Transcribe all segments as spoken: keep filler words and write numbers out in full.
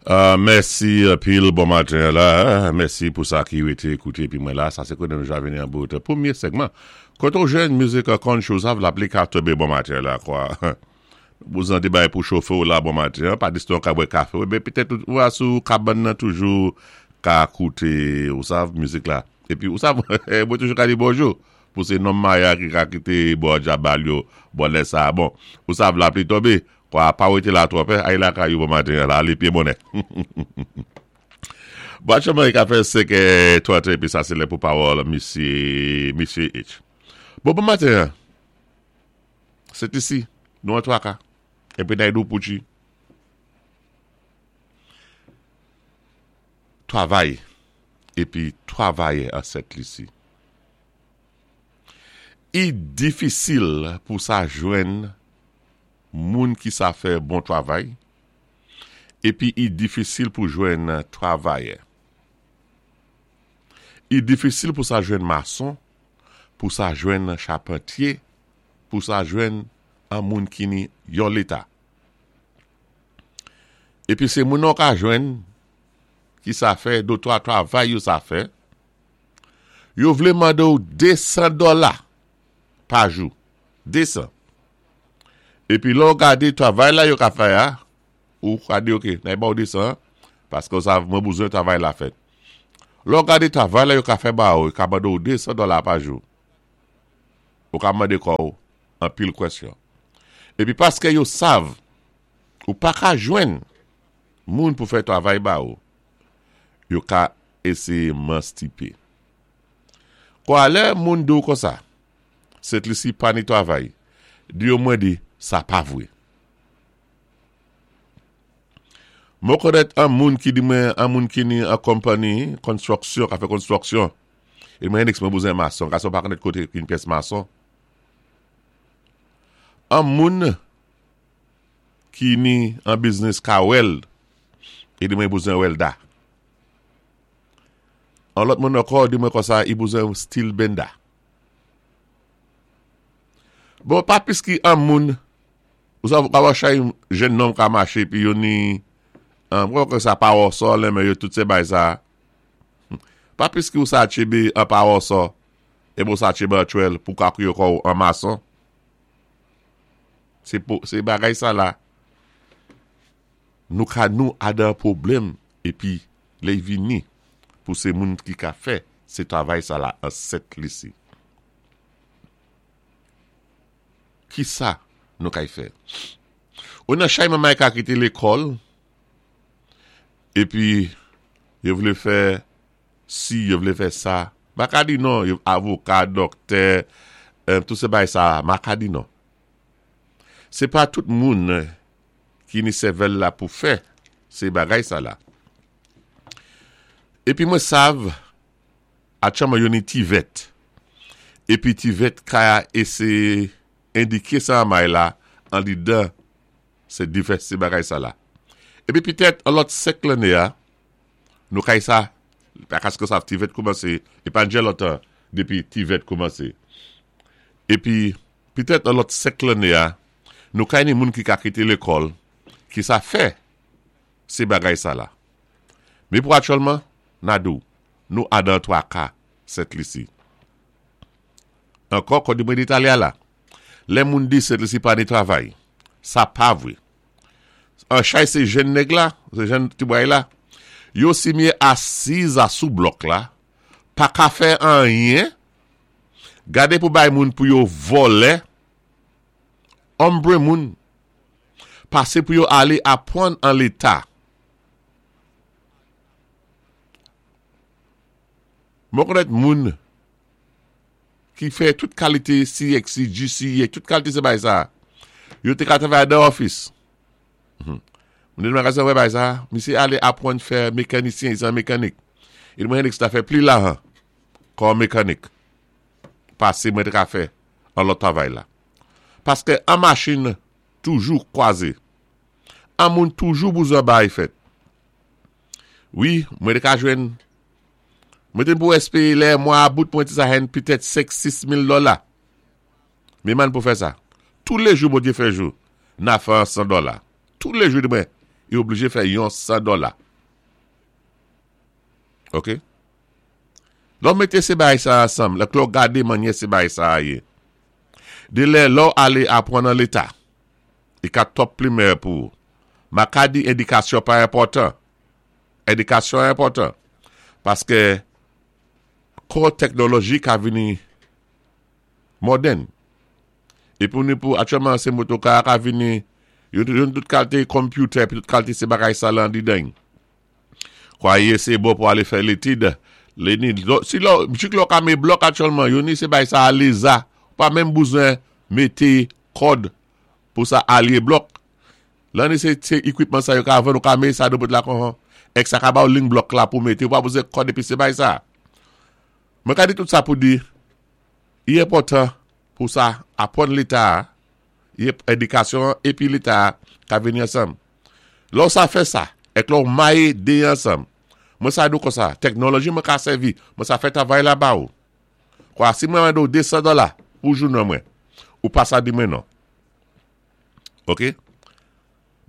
Uh, mèsi pil bon maten la. Mèsi pou sa ki wété ékouté pi mwen la. Sa sé koné nou ja vini an bout. Pwémyé segman. Koté ou jwenn mizik country, sav lapli ka tonbé bon maten la, kwa. Bouzan di bay pou chofé ou la bon maten. Pa diston ka bwè kafé. Ou ben pitèt ou a sou kabann nan toujou ka kouté, ou sav, mizik la. Épi ou sav, mwen toujou ka di bonjou. Pou sé nonm maya ki ka kité bon djabal yo, bon lè sa. Bon, ou sav lapli tonbé. Kwa pa wété la twòp, ay lakay ou bon maten la, alé pyé bonè. Bon, chanman i ka fè senk trant épi sa sé lè pou pawòl misyé, misyé H. Bon, bon maten, Sent Lisi, nou an twaka. Épi nay dou pouchi. Twavay, épi twavayè an Sent Lisi. I difisil pou sa jwenn moun ki sa fè bon twavay, épi i difisil pou jwenn twavayè. I difisil pou sa jwenn mason, pou sa jwenn chapantyé, pou sa jwenn an moun ki ni yon léta. Épi sé moun nou ka jwenn ki sa fè, dé twa twavay yo sa fè, yo vlé mandé ou désan dola pa jou. Désan. Épi lè ou gadé twavay la yo ka fè a, ou ka di ok, nay ba ou désan, paské ou sav mwen bouzwen twavay la fèt. Lè ou gadé twavay la yo ka fè ba ou, yo ka mande ou désan dola pa jou. Ou ka mandé kò ou an pil kwèsyon. Épi paské yo sav, ou pa ka jwenn moun pou fè twavay ba ou, yo ka éséyé manstipé. Kwa lè moun di ou konsa, Sent Lisi pa ni twavay, di yo mwen di, sa pa vwé. Mwen konnèt an moun ki di mwen, an moun ki ni an konpanyi, konstwiksyon, ka fè konstwiksyon. É mwen Hendrix mwen bouzwen mason, gason pa konnèt koté yn pyès mason. An moun ki ni an biznis ka weld, é di mwen bouzwen welda. An lòt moun ankò di mwen konsa, i bouzwen steel bender. Bon, pa pis ki an moun, ou sa ka wè chay jenn nonm ka maché pi yo ni, an, mwen kwè sa power saw lè men yo tout sé bay sa. Pa pis ki ou sa tchébé an power saw, é bon sa tchébé an twèl pou ka kwiyo kò ou an mason. Sé pou, sé bagay sa la. Nou ka nou adan pwoblèm épi lè y vini pou sé moun ki ka fè sé twavay sa la an Sent Lisi. Ki sa nou kay fè? Ou nan chay mamay ka kité lékòl, épi yo vlé fè si, yo vlé fè sa. Ma ka di non, yo avoka, doktè, euh, tout sé bay sa, ma ka di non. Sé pa tout moun ki ni sèvèl la pou fè sé bagay sa la. Épi mwen sav, atchanman yo ni TVET. Épi TVET ka éséyé endiké sa may la an lidan sé divès sé bagay sa la. Épi pitèt an lòt senk lanné a, nou kay sa, paské sa TVET koumansé, é pa djè lontan dépi TVET koumansé. Épi pitèt an lòt senk lanné a, nou kay ni moun ki ka kité lékòl, ki sa fè sé bagay sa la. Mé pou aktyèlman, nadou, nou adan twa ka Sent Lisi. Ankò, kon di mwen di talè a la, lè moun di Sent Lisi pa ni twavay, sa pa vwé. An chay sé jenn nèg la, sé jenn ti bway la, yo si myé asiz a sou blòk la, pa ka fè anyen, gadé pou bay moun pou yo vòlè, anbre moun, pasé pou yo alé apwann an léta. Mwen konnèt moun ki fè tout kalité C X C, G C E, tout kalité sé bay sa. Yo té ka twavay dan office. Mwen di magazen wè bay sa, misyé alé apwann fè mekanisyen, se an mekanik. É mwen Hendrix ta fè pli lajan kòm mekanik. Pasé mwen té ka fè an lòt twavay la. Paské an machin toujou kwazé. An moun toujou bouzwen bay fèt. Wi, mwen té ka jwenn, mwen té pou espéyé lè mwa a bout mwen té sa hen pitèt senk sis mil dola. Mé man pou fè sa. Tou lé jou Bondyé fè jou, na fè an san dola. Tou lé jou di mwen, Yo oblijé fè yon san dola. Ok? Lò w mété sé bagay sa ansanm, lè lò w gadé mannyè sé bagay sa yé. Dé lè lò w alé apwann an léta, i ka twòp pli meyè pou ou. Ma ka di édikasyon pa enpòtan. Édikasyon enpòtan. Paské kon teknoloji ka vini modèn. É pou nou pou, aktyèlman sé motoka ka vini, yon tout kalité computer, pi tout kalité sé bagay sa lan didan. Kwaye sé bon pou alé fè létid, lé ni, si lò, jik lò ka mé blòk aktyèlman, yo ni sé bagay sa aleza, pa menm bezwen mété kòd pou sa alyé blòk. Lan ni sé, sé equipment sa yo ka vann, ou ka mé sa do bout la kon, ek sa ka ba ou ling blòk la pou mété, ou pa bezwen kòd épi sé bagay sa. Mwen ka di tout sa pou di, i enpòtan pou sa apwann léta, édikasyon épi léta ka vini ansanm. Lò sa fè sa, ek lò maye dé ansanm. Mwen sa di ou kon sa, teknoloji mwen ka sèvi, mwen sa fè travay la ba ou. Kwa si mwen mande ou de san dola pou jounen mwen, ou pa sa di mwen non. Ok?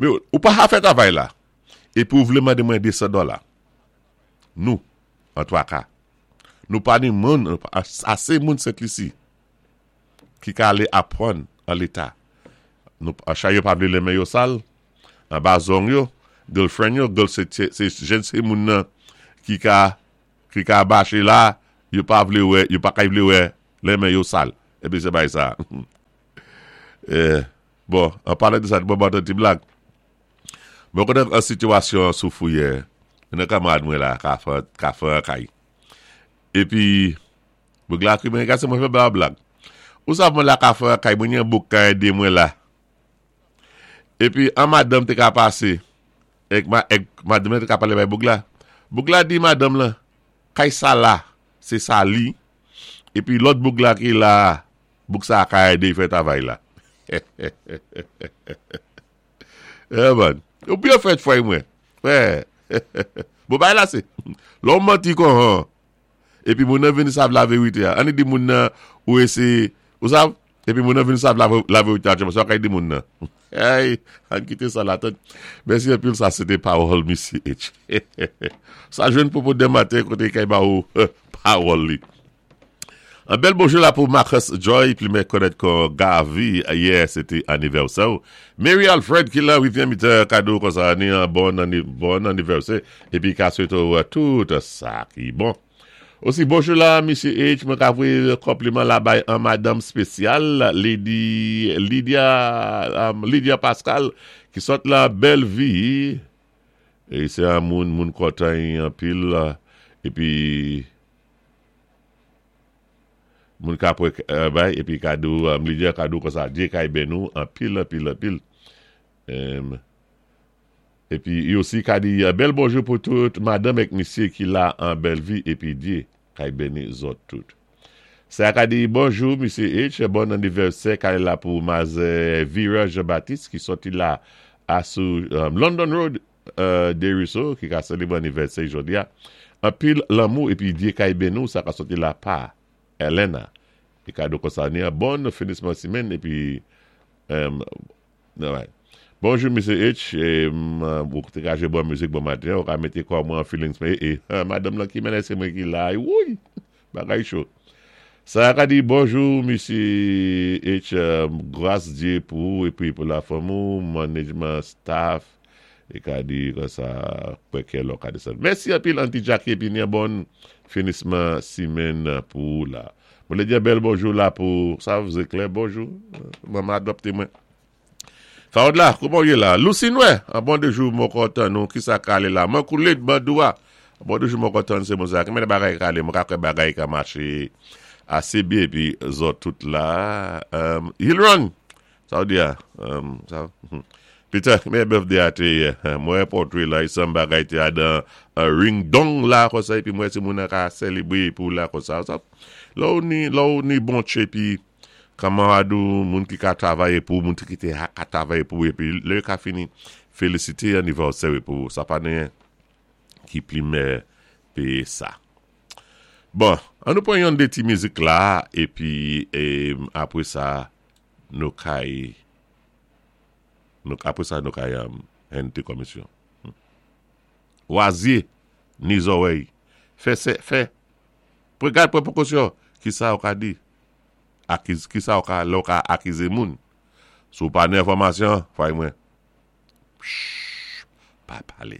Men ou pa ha fè travay la, épi ou vlé mandé mwen de san dola. Nou, an twa ka. Nou pa ni moun, asé moun Sent Lisi, ki ka alé apwann an léta. Nou, an chay yo pa vlé lé men yo sal, an ba zong yo, girlfriend yo, girl sé, sé jèn sé moun nan ki ka, ki ka baché la, yo pa vlé wè, yo pa ka vlé wè lé men yo sal. Épi sé bagay sa. Eh, bon, an palé de sa, bon, bon, ti blag. Mwen konnen an sitiyasyon sou Fouyè, yon kamarad mwen la, ka fè, ka fè an kay. Épi, boug la kri mwen, gase mwen fè ba blag. Ou sav mwen la ka fè an kay, mwen yon bouk ka ede mwen la. Épi, an madanm té ka pasé, ek, ma, ek madanm té ka palé bay boug la. Boug la di madanm la, kay sa la, sé sa li. Épi lòt boug la ki la, boug sa ka édé fè travay la. Eh bon, ou byen fèt fway mwen. Wè. Bon bagay la sé. Lò manti kon han. Épi moun nan vini sav la vérité. An di moun nan ou ese, ou sav? Épi moun nan vini sav la, la vérité a, sa kay di moun nan. Hey, an kité sa la tèt. Mèsi anpil, sa sé té pawòl Misye H. Sa jwenn pou pou maten koté kay ba ou pawòl li. Un bel bonjour la pou Marcus Joy, pli mwen konnèt kon Gavi, yè sé té anivèsè. Mary Alfred ki la, wi, vyen mété kado kon sa, ni un bon, bon anniversaire, épi ka swété tout sa ki bon. Osi, bonjou la, Misye H, mwen ka voyé konpliman la bay an madanm spésyal, Lady Lydia, um, Lydia Pascal, ki sot la belle vie, é sé an moun, moun kontan anpil, épi moun ka pou euh, bay, épi kado, um, Lydia kado kon sa, Dye kay beni nou, anpil, anpil, anpil. Um, épi, i osi ka di, uh, bèl bonjou pou tout madanm ek misye ki la an belle vie, épi Dye kay beni zòt tout. Sa ka di, bonjou, Misye H, bon anivèsè, kay la pou Maze Vera Jean-Baptiste, ki soti la a sou um, London Road, uh, Desruisseaux, ki ka selebré anivèsè jodi a. Anpil lanmou, épi Dye kay beni nou, sa ka soti la pa Elena. É kado kon sa ni an bon finisman simenn, épi, um, ouais. Bonjou, Misye H, é, ou té ka jwé bon mizik bon maten, ou ka mété kò mwen an feelings, mais, é, madanm lan ki mennen sé mwen ki la, woui, bagay cho. Sa ka di, bonjou, Misye H, gras Dye pou, épi pou la fanmi ou, management, staff, é ka di, kon sa, pwè lò ka desann. Mèsi anpil, Auntie Jackie, épi ni an bon finisman simenn pou la. Mwen lé di bèl bonjou la pou, sa vous éclaire, bonjou, maman adopté mwen. Farod la, kouman yé la? Lucine wè, an bon de jou mwen kontan nou, ki sa ka ale la? Mwen koulé bandou a. An bon de jou mwen kontan sé moun sa. Ki men bagay ka ale, mwen ka kwè bagay ka maché asé byen, épi zòt tout la. Um, Hilron, sa ou di a? Um, sa, Peter, men birthday a té, mwen portrait la, isan bagay té a dan ring dong la kon sa, épi mwen sé moun ka selebré pou la kon sa. Sa, la ou ni, la ou ni bon tché, épi kamarad ou, moun ki ka travaye pou, moun ki te ha ka travaye pou, épi lè ka fini, félisité anivèsè pou, sa pa nen ki pli mè pé sa. Bon, an nou pran yon dé ti mizik la, épi, é, apwé sa, nou kay, nou, apwé sa nou kay um, Ente komisyon. Wa zyé, ni zòwèy. Fè, fè, fè. Gad pran pwékosyon. Ki sa ou ka di? Akiz, ki sa ou ka, lè ou ka akizé moun? Si ou pa ni enfòmasyon, fay mwen. Chut, pa palé.